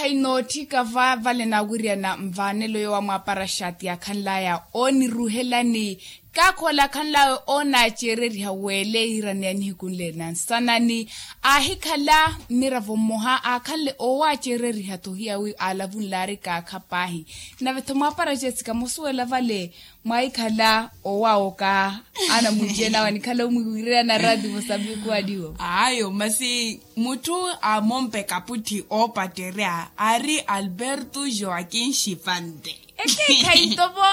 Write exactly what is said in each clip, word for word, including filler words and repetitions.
Inootthika va vale naawiriyana nvaanelo yoowa mwaapara xaati yaakhanlaya ooniruhelani. Kaakhola akhanlawe oonaaceereriha weele yiiraneya nihiku nle na nsanani. Aahikhala mmiravo mmoha aakhanle oowaaceereriha-tho hiyawi aalavunlaari kaakha paahi. Nave-tho mwaapara jessica mosuwela vale mwaahikhala oowaawoka anamwiicenawe anikhala omwiiwireya na raati musambikuwaniwo. Ayo masi mutthu aamompe kaputthi oopattereya aari alberto joaquin shivante. Ekeekhayi nto vo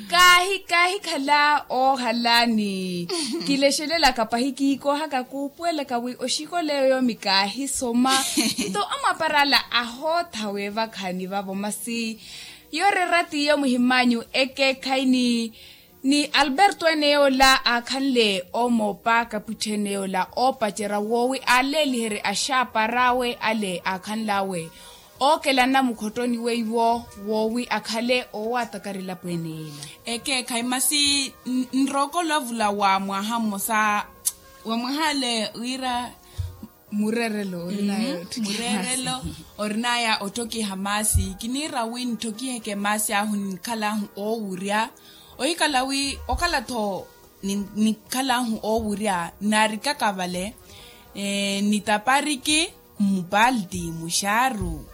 kaahi kaahikhala oohalaani. Kilexelelaka pahi kiikoohaka kuupuwelaka wi oxikoleyo yoomi kaahisoma. Nto amwaparala ahootha weevakhani vavo masi yooreera tiiyo muhimanyu ekeekhayi ni ni alberto ene yoola aakhanle oomoopa kapwitthi ene yoola oopacerya woowi aaleeliherye axaapar'awe ale aakhanl'awe ookelana mukhottoni weiwo woowi akhale oowaataka rilapo ene yeela. Ekeekhayi masi nrookolo avula wa mwaha mmosa wa mwaha ale wira mureerelo orinaya otthokiha maasi kiniira wi nitthokiheeke maasi ahu ninikhal'ahu oowurya ohikhala wi okhala-tho nikhal'ahu oowurya naarikaka vale nitapariki mmupalti muxaaru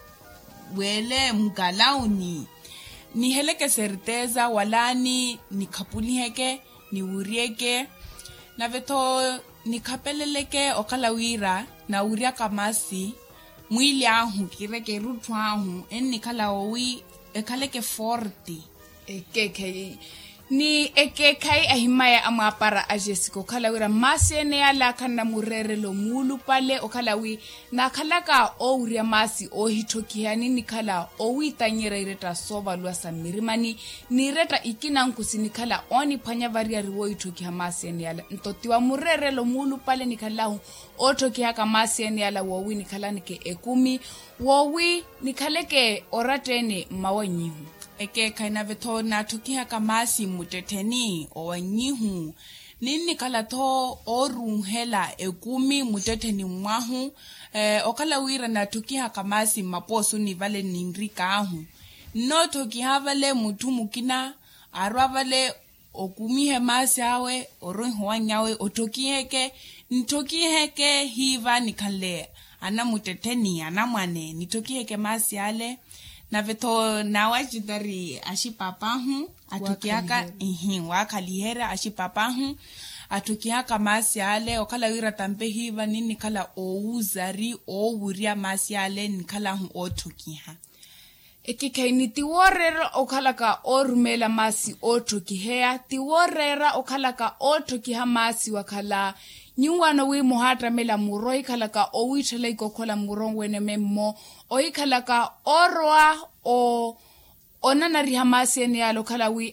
weele mukalauni niheleke serteza walaani nikhapuliheke niwuryeke nave-tho nikhapeleleke okhala wira nawuryaka maasi mwiili ahu kireke erutthu ahu ennikhala owi ekhaleke forte. Ekeekhayi ni ekeekhayi ahimaya amwaapara a jessica okhala wira maasi ene yale akhanna mureerelo muulupale okhala wi naakhalaka oowurya maasi oohitthokiha ninikhala owiitanyerya iretta soovaluwa sa mmirimani n'iretta ikina nkusi nikhala ooniphwanya variyari woohitthokiha maasi ene yala nto ti wa mureerelo muulupale nikhalahu ootthokihaka maasi ene yala woowi nikhalanike ekumi woowi nikhaleke oratta ene mmawannyihu. Ekeekhayi nave-tho naatthokihaka maasi mmuttettheni owannyihu ninnikhala-tho ooruuhela ekumi muttettheni mwahu okhala wira naatthokiha kamaasi mmapoosuni vale ninrikaahu nnootthokiha vale mutthu mukina arwa vale okumihe maasi awe orwiha owannyawe otthokiheke nitthokiheke hiiva nikhanle anamuttettheni anamwane nitthokiheke maasi ale nave-tho naawacitari axipaapahu atthokihaka ihi waakhaliherya axipaapahu atthokihaka maasi ale okhala wira tampe hiiva ninnikhala oowuzari oowurya maasi ale nikhalahu ootthokiha. Ekikhayi ni ti wooreera okhalaka oorumeela maasi ootthokiheya ti wooreera okhalaka ootthokiha maasi wakhala nyuwaano wi muhaattamela muro ohikhalaka owiitthela ikookhola muro weneme mmo ohikhalaka oorowa o onanariha maasi ene yaale okhala wi